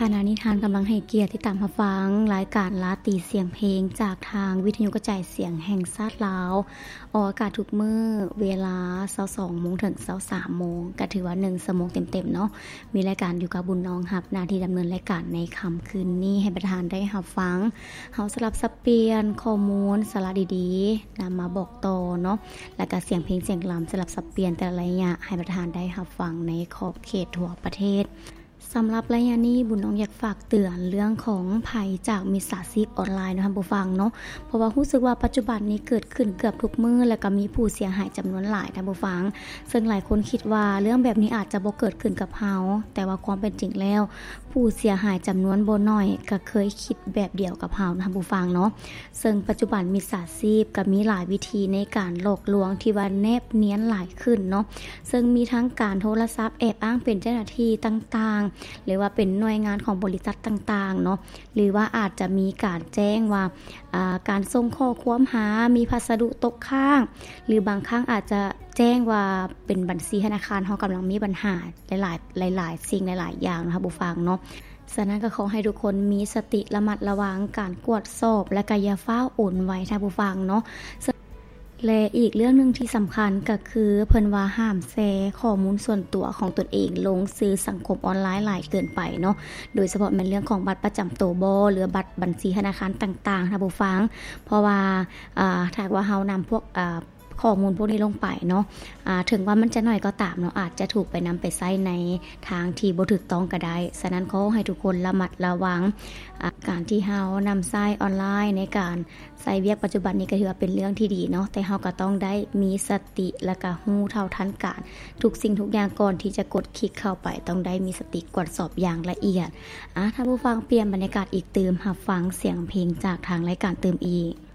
ຂະນະນີ້ທ່ານກຳລັງໃຫ້ກຽດຕິດຕາມຮັບຟັງລາຍການລາຕີສຽງເພງ ຈາກທາງວິທະຍຸກະຈາຍສຽງແຫ່ງຊາດລາວ, ອອກອາກາດທຸກມື້ເວລາຊາວສອງໂມງເຖິງຊາວສາມໂມງ, ກະຖືວ່າໜຶ່ງຊົ່ວໂມງເຕັມໆເນາະ. ມີລາຍການຢູ່ກັບບຸນນ້ອງຮັບໜ້າທີ່ດຳເນີນລາຍການໃນຄ່ຳຄືນນີ້ ໃຫ້ບັນດາທ່ານໄດ້ຮັບຟັງ. ເຮົາສະຫຼັບສັບປ່ຽນຂໍ້ມູນສາລະດີໆ ນຳມາບອກຕໍ່ເນາະ, ແລະກະສຽງເພງສຽງລຳສະຫຼັບສັບປ່ຽນແຕ່ລະໄລຍະ ໃຫ້ບັນດາທ່ານໄດ້ຮັບຟັງໃນຂອບເຂດທົ່ວປະເທດ. ສຳລັບໄລຍະນີ້ ບຸນນ້ອງຢາກຝາກເຕືອນເລື່ອງຂອງໄພຈາກມິດສາຊີບອອນລາຍເນາະທ່ານຜູ້ຟັງເນາະ, ເພາະວ່າຮູ້ສຶກວ່າປັດຈຸບັນນີ້ເກີດຂຶ້ນເກືອບທຸກມື້ ແລະກະມີຜູ້ເສຍຫາຍຈຳນວນຫຼາຍທ່ານຜູ້ຟັງ. ເຊິ່ງຫຼາຍຄົນຄິດວ່າເລື່ອງແບບນີ້ອາດຈະບໍ່ເກີດຂຶ້ນກັບເຮົາ, ແຕ່ວ່າຄວາມເປັນຈິງແລ້ວ ຜູ້ເສຍຫາຍຈຳນວນບໍ່ໜ້ອຍກະເຄີຍຄິດແບບດຽວກັບເຮົາທ່ານຜູ້ຟັງເນາະ. ເຊິ່ງປັດຈຸບັນມິດສາຊີບກະມີຫຼາຍວິທີໃນການຫຼອກລວງທີ່ວ່າແນບນຽນຫຼາຍຂຶ້ນເນາະ, ເຊິ່ງມີທັງການໂທລະສັບແອບອ້າງເປັນເຈົ້າໜ້າທີ່ຕ່າງໆ ຫຼືວ່າເປັນໜ່ວຍງານຂອງບໍລິສັດຕ່າງໆເນາະ, ຫຼືວ່າອາດຈະມີການແຈ້ງວ່າ ອາ ການສົ່ງຂໍ້ຄວາມຫາ ມີພັດສະດຸຕົກຄ້າງ ຫຼືບາງຄັ້ງອາດຈະແຈ້ງວ່າເປັນບັນຊີທະນາຄານເຮົາກຳລັງມີບັນຫາຫຼາຍໆ ຫຼາຍໆສິ່ງຫຼາຍໆຢ່າງເນາະທ່ານຜູ້ຟັງເນາະ. ສະນັ້ນກໍຂໍໃຫ້ທຸກຄົນມີສະຕິລະມັດລະວັງການກວດສອບ ແລະກໍຢ່າຟ້າວໂອນໄວທ່ານຜູ້ຟັງເນາະ. ແລະອີກເລື່ອງໜຶ່ງທີ່ສຳຄັນກໍຄື ເພິ່ນວ່າຫ້າມແຊຂໍ້ມູນສ່ວນຕົວຂອງຕົນເອງລົງສື່ສັງຄົມອອນລາຍຫຼາຍເກີນໄປເນາະ, ໂດຍສະເພາະແມ່ນເລື່ອງຂອງບັດປະຈຳໂຕບໍ ຫຼືວ່າບັດບັນຊີທະນາຄານຕ່າງໆທ່ານຜູ້ຟັງ. ເພາະວ່າ ອາ ຖ້າຫາກວ່າເຮົານຳພວກ ອາ ຂໍ້ມູນພວກນີ້ລົງໄປເນາະ, ອາ ເຖິງວ່າມັນຈະໜ້ອຍກໍຕາມເນາະ, ອາດຈະຖືກໄປນຳໄປໃຊ້ໃນທາງທີ່ບໍ່ຖືກຕ້ອງກໍໄດ້. ສະນັ້ນຂໍໃຫ້ທຸກຄົນລະມັດລະວັງ ອາ ການທີ່ເຮົານຳໃຊ້ອອນລາຍໃນການໃຊ້ວຽກປັດຈຸບັນນີ້ກໍຖືວ່າເປັນເລື່ອງທີ່ດີເນາະ, ແຕ່ເຮົາກໍຕ້ອງໄດ້ມີສະຕິ ແລະກະຮູ້ເທົ່າທັນການທຸກສິ່ງທຸກຢ່າງກ່ອນທີ່ຈະກົດຄລິກເຂົ້າໄປ, ຕ້ອງໄດ້ມີສະຕິກວດສອບຢ່າງລະອຽດ. ອາ ທ່ານຜູ້ຟັງ ປ່ຽນບັນຍາກາດອີກຕື່ມ, ຮັບຟັງສຽງເພງຈາກທາງລາຍການຕື່ມອີກ.